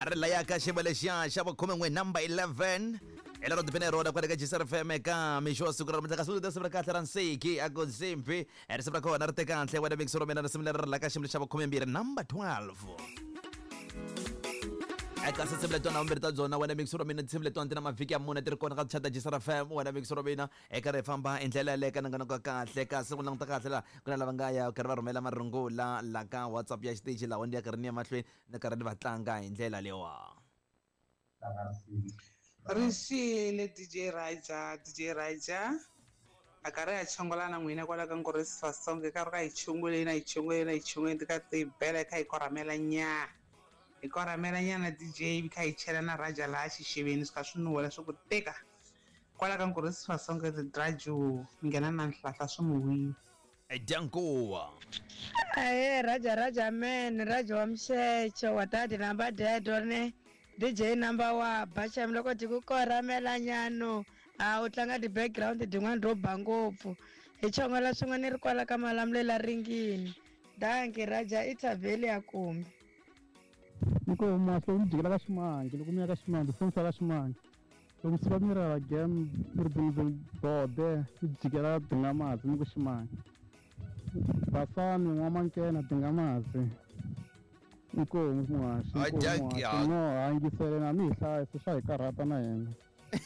Ri laya ka xiyimo lexiya xa vukhumen'we, number 11, hi lero tipine rona kwale ka Gsr FM eka mixo wa siku ra namuntlha. Kasi risimu ra kahle ra nsiki a ku nsimbi, risimu ra kona ri te kahle wena mixo ra mina. Risimu leri ri la ka xiyimo xa vukhumembirhi, number 12. Eka tinsimu letiwana vumbirhi ta byona wena mixo ra mina, tinsimu letiwana ti na mavhiki ya mune ti ri kona ka tichata Gsr FM wena mixo ra mina, eka ri famba hi ndlela yaleyo ka nongonoko wa kahle. Kasi ku languta kahle laha ku na lava nga ya karhi va rhumela marungula la ka WhatsApp ya xitichi lawa ni ya karhi ni ya mahlweni ni karhi ni va tlanga hi ndlela leyiwa. Rixile DJ Raja, DJ Raja a karhi a chongola na n'wina kwala ka Ngorisi Fasonge, karhi ka hi chongoleni a hi chongoleni a hi chongoleni ti ka ti bela hi kha hi korhamela nya hi korhamela nyana DJ kha hi chela na Raja laha xixeveni swi kha swi nuhela swi ku tika kwala ka Ngorisi Fasonge Raju nghena na nhlahla swi n'wi wile. Dyankuwa. Ahee Raja Raja man Raja wa Mxexo wa tati number dead ne DJ number wa ba xem loko ti ku korhamela nyano a u tlanga ti background tin'wana to ba ngopfu hi chongola swin'we ni ri kwala ka Malamulele ringini danki Raja i thavheli ya kumbe. Inkomu mahlo mi jikela ka ximangi loko mi ya ka ximangi foni ka ximangi loko mi suka mi ra game mi ri bode mi jikela Dingamazi mi ku ximangi basani n'wamankena Dingamazi inkomu muhaxi inkomu muhaxi no ha yingisele na mi hi hlayisa swa hi karhata na hina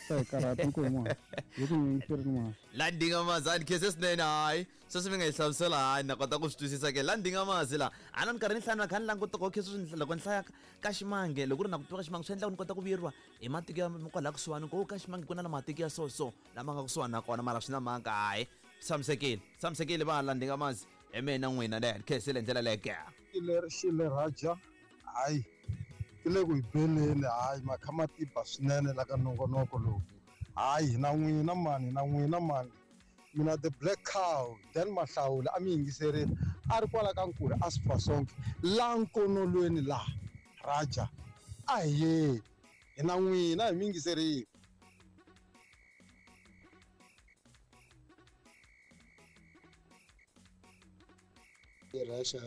swa hi karhata inkomu muhaxi hi ku yingiserini muhaxi. La Dingamazi a ni khense swinene. Hayi, sweswi mi nga yi hlamusela, hayi, na kota ku swi twisisa ke. La Dingamazi la a na ni karhi ni hlaya na kha ni languta ku okay, sweswi loko ni hlaya ka ximange, loko ku ri na ku tiva ka ximange swi endla ku ni kota ku vuyeriwa hi matiko ya kwala kusuhani ku ka ximange ku na na matiko ya so so lama nga kusuhani na kona, mara swi na mhaka. Hayi, tshamisekile, tshamisekile va la Dingamazi hi mina n'wina le ni khensile hi ndlela leyo ke. Xile xile Raja, hayi ti le ku hi beleni, hayi makha ma tiba swinene la ka nongonoko lowu, hayi hi na n'wina mani, hi na n'wina mani. Mina the black cow Dan Mahlawula a mi yingiserile a ri kwala ka Nkule a Sifasonke la nkonolweni la Raja a hi yeni hi na n'wina hi mi yingiserile. Raja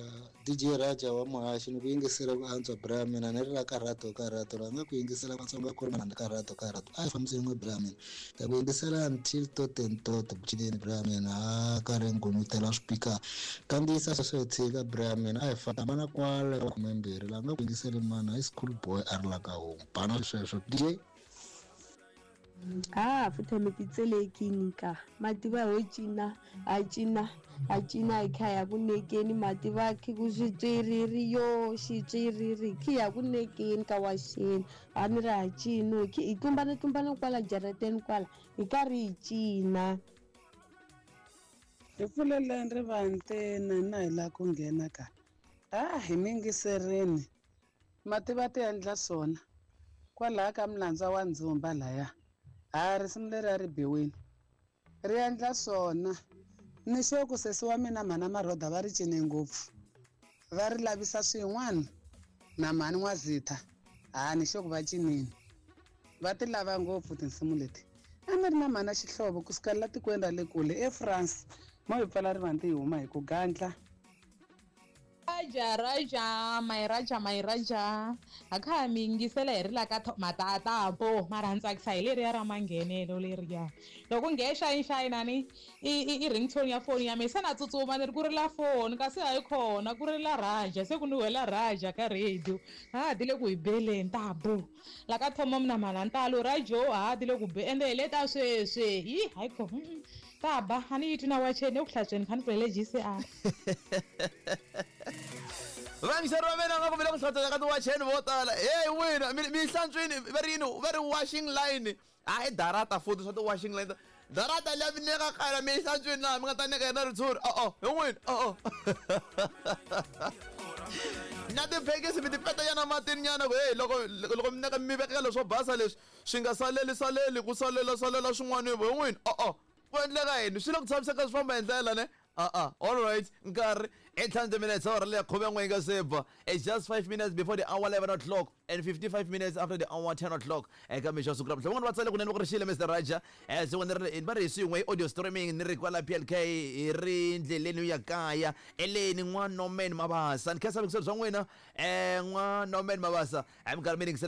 DJ Raja wa muhaxi ni ku yingisela ku antswa bra mina ni ri la karhato karhato la nga ku yingisela Vatsonga ku ri mana karhato karhato a hi fambiseni n'we bra mina ta ku yingisela until tot and tot cineni bra mina a karhi ngumutela swipika kandziyisa sweswo hi tshika bra mina a hi famba na kwale ka khumembirhi la nga ku yingiseli mana i school boy a ri la ka homu bana sweswo DJ. Ha futhe mi titselekini ka mativa ho cina a cina a cina hi kha ya ku nekeni mativa khi ku xitswiriri yo xitswiriri khi ya ku nekeni ka waxeni a ni ri ha cino khi hi tlumbana tlumbana kwala jarateni kwala hi karhi hi cina. Hi pfuleleni rivanti na hina hi lava ku nghena ka a hi mi yingiserini Mativa ti endla swona. Kwalaya ka mulandza wa ndzumba laya. Ha risimu leri a ri biwini. Ri endla swona. Ni sure ku sesi wa mina mhana Marhoda va ri cine ngopfu. Va ri lavisa swin'wana na mhani N'wazitha. Ha ni sure ku va cinini. Va ti lava ngopfu tinsimu leti. A ni ri na mhana Xihlovo ku suka la tikweni ra le kule eFrance. Mo hi pfala rivanti hi huma hi ku gandla. Raja Raja my Raja my Raja a kha ha mi yingisela hi ri la ka matatapo mara ni tsakisa hi leriya ra manghenelo leriya loko nge xayinxayina ni i i i ringtone ya foni ya mina se na tsutsuma ni ri ku rila foni kasi hayi khona ku rila Raja se ku ni wela Raja ka radio ha ti le ku hi beleni ta bo la ka thomo mina mhalantalo Rajo ha ti le ku be ende hi le ta sweswi yi hayi kho ta ba a ni yi twi na wacheni eku hlantsweni kha ni pfulele GCR. Vayingiseri va mina nga ku mi le ku hlantsweni ka tiwacheni vo tala heyi wina mi mi hlantswini va ri yini va ri washing line hayi darata futhi swa ti-washing line darata liya mi neka kaya mi yi hlantswini laha mi nga ta neka yena ritshuri o-o hi n'wini o-o na tiphekisi mi ti peta nyana matini nyana ku heyi loko loko mi neka mi vekela leswo basa leswi swi nga saleli saleli ku salela salela swin'wana hi n'wini o-o ku endleka yini swi le ku tshamiseka swi famba hi ndlela ne a-a all right nkarhi. 800 minutes awara leya khumen'we yi nga se ba. It's just 5 minutes before the hour 11 o'clock and 55 minutes after the hour 10 o'clock. Eka mixo wa siku ra mhla van'wana va tsale kunene va ku ri xile Mr Raja. Se ni ri va ri hi swin'we hi audio streaming ni ri kwala PLK hi ri ndleleni yo ya kaya eleni n'wa Norman Mabasa. Ni khensa vuxokoxoko bya n'wina n'wa Norman Mabasa. Hi minkarhi mi yingisela.